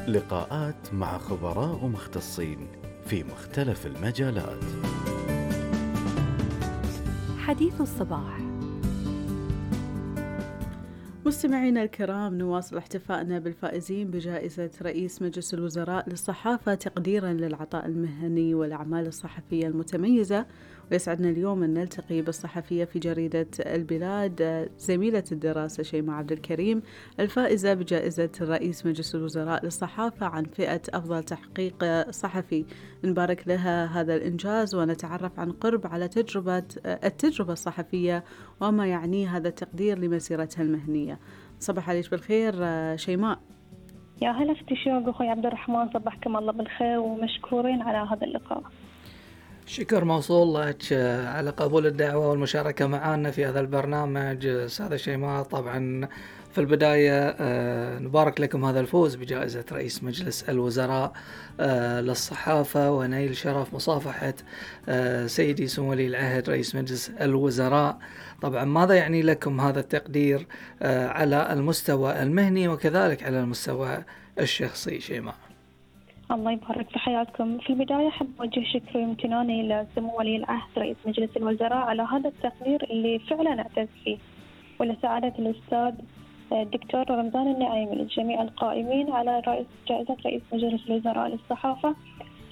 لقاءات مع خبراء ومختصين في مختلف المجالات. حديث الصباح. مستمعينا الكرام، نواصل احتفائنا بالفائزين بجائزة رئيس مجلس الوزراء للصحافة تقديرا للعطاء المهني والأعمال الصحفية المتميزة. ويسعدنا اليوم أن نلتقي بالصحفية في جريدة البلاد زميلة الدراسة شيماء عبد الكريم، الفائزة بجائزة رئيس مجلس الوزراء للصحافة عن فئة أفضل تحقيق صحفي. نبارك لها هذا الإنجاز ونتعرف عن قرب على التجربة الصحفية وما يعنيه هذا التقدير لمسيرتها المهنية. صباح عليك بالخير شيماء. يا هلا افتشاق أخوي عبد الرحمن، صبحكم الله بالخير ومشكورين على هذا اللقاء. شكر موصول لك على قبول الدعوة والمشاركة معنا في هذا البرنامج أستاذة شيماء. طبعا في البداية نبارك لكم هذا الفوز بجائزة رئيس مجلس الوزراء للصحافة، ونيل شرف مصافحة سيدي سمو ولي العهد رئيس مجلس الوزراء. طبعا ماذا يعني لكم هذا التقدير على المستوى المهني وكذلك على المستوى الشخصي شيماء؟ الله يبارك في حياتكم. في البداية أحب أوجه شكري وامتناني لسمو ولي العهد رئيس مجلس الوزراء على هذا التقدير اللي فعلا أعتز فيه، ولسعادة الأستاذ الدكتور رمضان النعيمي لجميع القائمين على جائزة رئيس مجلس الوزراء للصحافة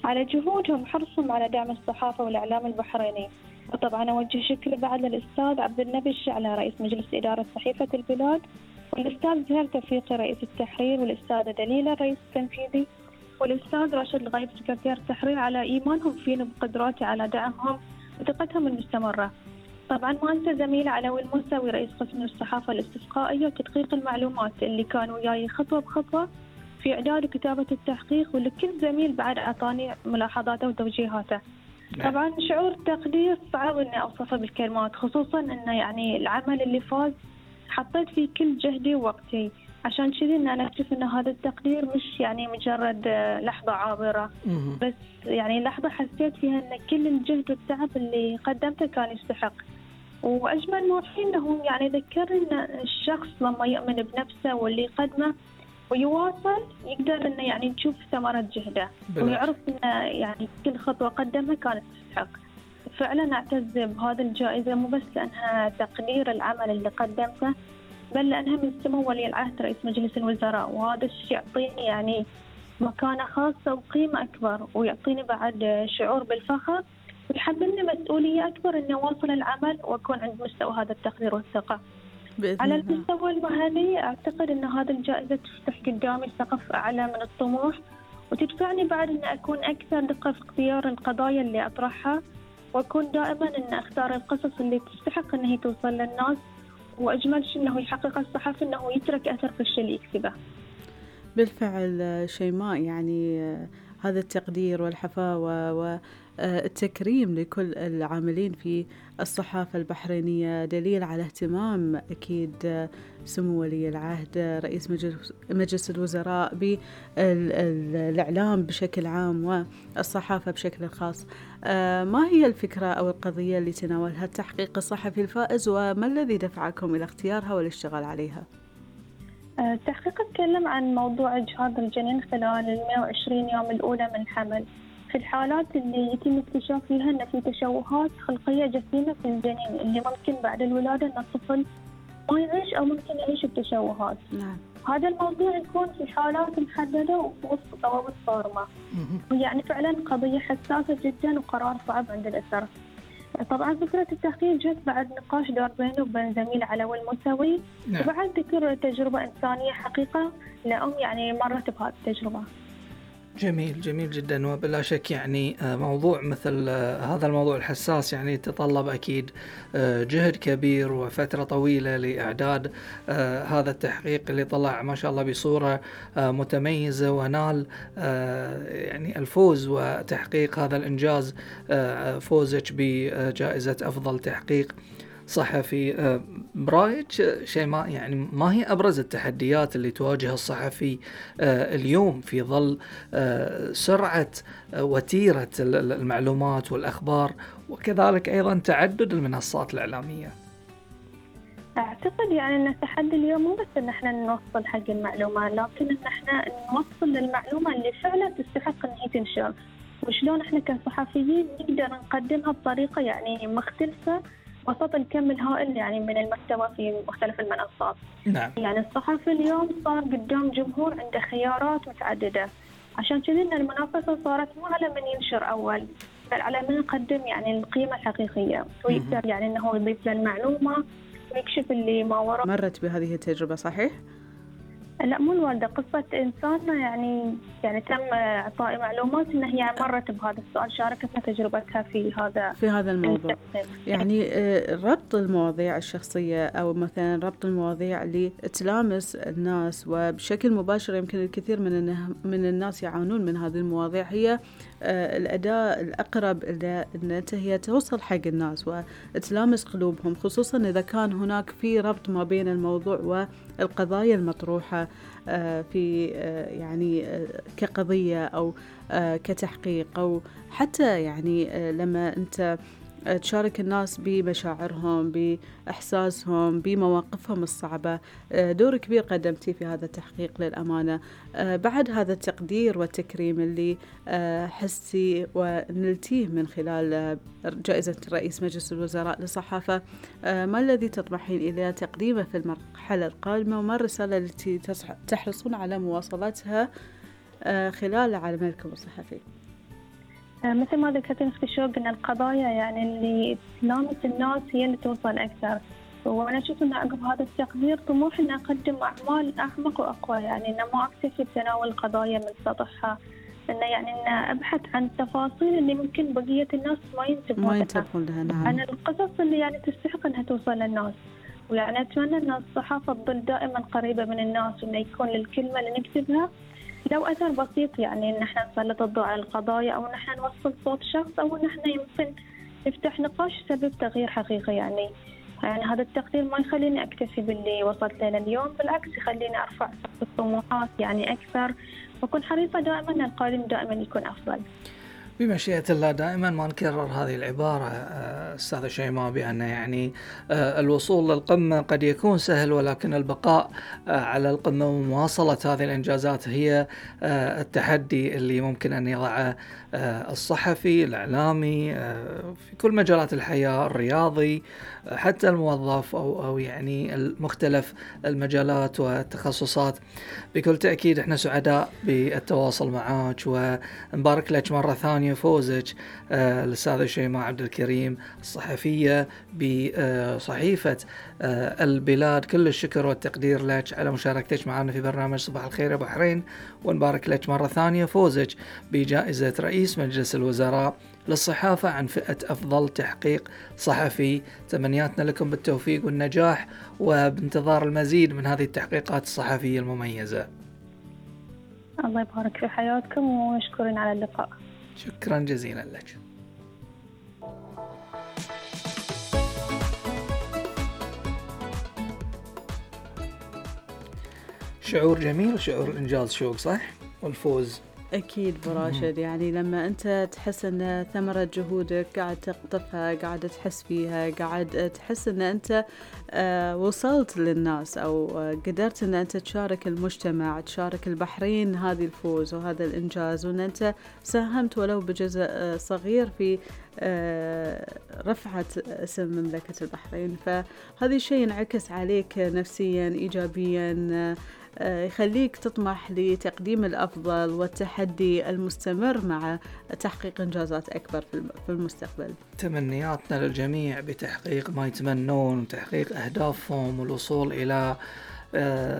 على جهودهم وحرصهم على دعم الصحافة والإعلام البحريني. وطبعا أوجه شكري بعد للأستاذ عبد النبي الشعلة رئيس مجلس إدارة صحيفة البلاد، والأستاذ زهير توفيقي رئيس التحرير، والأستاذة دليلة الرئيس التنفيذي، والأستاذ راشد الغيب سكرتير التحرير على إيمانهم فينا بقدراتي على دعمهم وثقتهم المستمرة. طبعا ما أنسى زميلي علوي الموسوي رئيس قسم الصحافة الاستسقائية وتدقيق المعلومات اللي كانوا وياي خطوة بخطوة في إعداد وكتابة التحقيق، ولكل زميل بعد أعطاني ملاحظاته وتوجيهاته. طبعا شعور تقدير صعب إني أوصفه بالكلمات، خصوصا إنه يعني العمل اللي فاز حطيت فيه كل جهدي ووقتي، عشان كذي إن أنا أكتشف إن هذا التقدير مش يعني مجرد لحظة عابرة، بس يعني لحظة حسيت فيها إن كل الجهد والتعب اللي قدمته كان يستحق. وأجمل ما فيه إنه يعني ذكرني إن الشخص لما يؤمن بنفسه واللي يقدمه ويواصل يقدر إنه يعني نشوف ثمرة جهده ويعرف إنه يعني كل خطوة قدمها كانت تستحق. فعلا أعتز بهذه الجائزة مو بس لأنها تقدير العمل اللي قدمته، بل لأنها من سمو ولي العهد رئيس مجلس الوزراء، وهذا الشيء يعطيني يعني مكانة خاصة وقيمة أكبر، ويعطيني بعد شعور بالفخر ويحملني مسؤولية أكبر إني أواصل العمل وأكون عند مستوى هذا التقدير والثقة. على المستوى المهني أعتقد أن هذه الجائزة تفتح قدامي سقف أعلى من الطموح، وتدفعني بعد أن أكون أكثر دقة في اختيار القضايا اللي أطرحها، وأكون دائما أن أختار القصص اللي تستحق أن هي توصل للناس، وأجمل شيء أنه يحقق الصحفي أنه يترك أثر في الشيء اللي يكتبه. بالفعل شيماء، يعني هذا التقدير والحفاوة والتكريم لكل العاملين في الصحافة البحرينية دليل على اهتمام أكيد سمو ولي العهد رئيس مجلس الوزراء بالإعلام بشكل عام والصحافة بشكل خاص. ما هي الفكرة أو القضية اللي تناولها التحقيق الصحفي الفائز، وما الذي دفعكم إلى اختيارها والاشتغال عليها؟ التحقيق اتكلم عن موضوع إجهاض الجنين خلال 120 يوم الأولى من الحمل، في الحالات اللي يتم اكتشاف فيها أن في تشوهات خلقية جسيمة في الجنين اللي ممكن بعد الولادة أن الطفل ما يعيش أو ممكن يعيش بتشوهات. نعم. هذا الموضوع يكون في حالات محددة ووسط ضوابط صارمة، ويعني فعلا قضية حساسة جدا وقرار صعب عند الأسرة. طبعا فكرة التحقيق جت بعد نقاش دار بينه وبين زميل علوي الموسوي، وبعد ذكر تجربة إنسانية حقيقة لأم يعني مرت بهذه التجربة. جميل جميل جدا. وبلا شك يعني موضوع مثل هذا الموضوع الحساس يعني يتطلب أكيد جهد كبير وفترة طويلة لإعداد هذا التحقيق اللي طلع ما شاء الله بصورة متميزة، ونال يعني الفوز وتحقيق هذا الإنجاز، فوزك بجائزة أفضل تحقيق صحفي. برأيك شيماء، يعني ما هي أبرز التحديات اللي تواجه الصحفي اليوم في ظل سرعة وتيرة المعلومات والأخبار، وكذلك أيضا تعدد المنصات الإعلامية؟ أعتقد يعني أن التحدي اليوم مو بس أن احنا نوصل حق المعلومة، لكن أن احنا نوصل للمعلومة اللي فعلا تستحق أن هي تنشر، وشلون احنا كصحفيين نقدر نقدمها بطريقة يعني مختلفة وسط الكم الهائل يعني من المحتوى في مختلف المنصات. نعم. يعني الصحفي اليوم صار قدام جمهور عنده خيارات متعددة، عشان كذا إن المنافسة صارت مو على من ينشر أول، بل على من يقدم يعني القيمة الحقيقية ويقدر يعني إنه يضيف للمعلومة ويكشف اللي ما وراء. مرت بهذه التجربة صحيح؟ لا مو الوالدة، قصة إنسان يعني تم إعطاء معلومات إن هي مرت بهذا السؤال، شاركتنا تجربتها في هذا الموضوع. يعني ربط المواضيع الشخصية أو مثلا ربط المواضيع اللي تلامس الناس وبشكل مباشر، يمكن الكثير من الناس يعانون من هذه المواضيع، هي الأداة الأقرب أن هي توصل حق الناس وتلامس قلوبهم، خصوصا إذا كان هناك في ربط ما بين الموضوع والقضايا المطروحة في يعني كقضية أو كتحقيق، أو حتى يعني لما أنت تشارك الناس بمشاعرهم، بإحساسهم، بمواقفهم الصعبة. دور كبير قدمتي في هذا التحقيق للأمانة. بعد هذا التقدير والتكريم اللي حستي ونلتيه من خلال جائزة رئيس مجلس الوزراء للصحافة، ما الذي تطمحين إلى تقديمه في المرحلة القادمة، وما الرسالة التي تحرصون على مواصلتها خلال عملكم الصحفي؟ مثل ما ذكرتين أختي شوق أن القضايا يعني اللي تلامس الناس هي اللي توصل أكثر، وأنا أشوف أن عقب هذا التقدير طموح أن أقدم أعمال أعمق وأقوى، يعني أن ما أكتفي بتناول القضايا من سطحها، أن يعني أن أبحث عن التفاصيل اللي ممكن بقية الناس ما ينتبهون لها. نعم. عن القصص اللي يعني تستحق أنها توصل للناس، ويعني أتمنى أن الصحافة تظل دائما قريبة من الناس، وأن يكون للكلمة اللي نكتبها لو أثر بسيط، يعني إن احنا نسلط الضوء على القضايا، أو إن احنا نوصل صوت شخص، أو إن احنا يمكن نفتح نقاش يسبب تغيير حقيقي. يعني هذا التقدير ما يخليني أكتفي باللي وصلت له اليوم، بالعكس يخليني أرفع الطموحات يعني أكثر، وأكون حريصة دائما أن القادم دائما يكون أفضل. بمشيئة الله. دائما ما نكرر هذه العبارة أستاذة شيماء، بأن يعني الوصول للقمة قد يكون سهل، ولكن البقاء على القمة ومواصلة هذه الإنجازات هي التحدي اللي ممكن أن يضعه الصحفي، الإعلامي، في كل مجالات الحياة، الرياضي، حتى الموظف أو يعني المختلف المجالات والتخصصات. بكل تأكيد احنا سعداء بالتواصل معك، ونبارك لك مرة ثانية فوزك الأستاذة شيماء عبد الكريم الصحفية بصحيفة البلاد. كل الشكر والتقدير لك على مشاركتك معنا في برنامج صباح الخير يا بحرين، ونبارك لك مرة ثانية فوزك بجائزة رئيس مجلس الوزراء للصحافة عن فئة أفضل تحقيق صحفي. تمنياتنا لكم بالتوفيق والنجاح، وبانتظار المزيد من هذه التحقيقات الصحفية المميزة. الله يبارك في حياتكم، ومشكورين على اللقاء. شكرا جزيلا لك. شعور جميل، شعور إنجاز شوق صح؟ والفوز أكيد براشد. يعني لما أنت تحس أن ثمرة جهودك قاعد تقطفها، قاعد تحس فيها، قاعد تحس أن أنت وصلت للناس، أو قدرت أن أنت تشارك المجتمع، تشارك البحرين هذه الفوز وهذا الإنجاز، وأن أنت ساهمت ولو بجزء صغير في رفعة اسم مملكة البحرين، فهذا الشيء ينعكس عليك نفسيا إيجابيا، يخليك تطمح لتقديم الأفضل والتحدي المستمر مع تحقيق إنجازات أكبر في المستقبل. تمنياتنا للجميع بتحقيق ما يتمنون، وتحقيق أهدافهم، والوصول إلى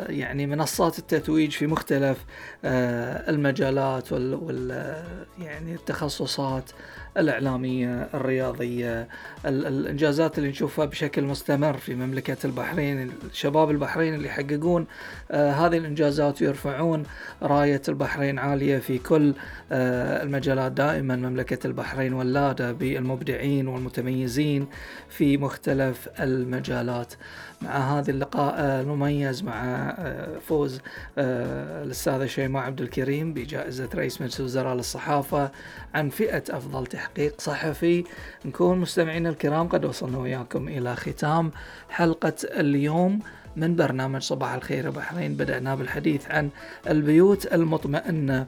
يعني منصات التتويج في مختلف المجالات يعني التخصصات الإعلامية، الرياضية، الإنجازات اللي نشوفها بشكل مستمر في مملكة البحرين. الشباب البحرين اللي يحققون هذه الإنجازات ويرفعون راية البحرين عالية في كل المجالات. دائما مملكة البحرين ولادة بالمبدعين والمتميزين في مختلف المجالات. مع هذا اللقاء المميز نفوز مع فوز الأستاذة شيماء عبد الكريم بجائزة رئيس مجلس الوزراء للصحافة عن فئة أفضل تحقيق صحفي. نكون مستمعين الكرام قد وصلنا وياكم إلى ختام حلقة اليوم من برنامج صباح الخير بحرين. بدأنا بالحديث عن البيوت المطمئنة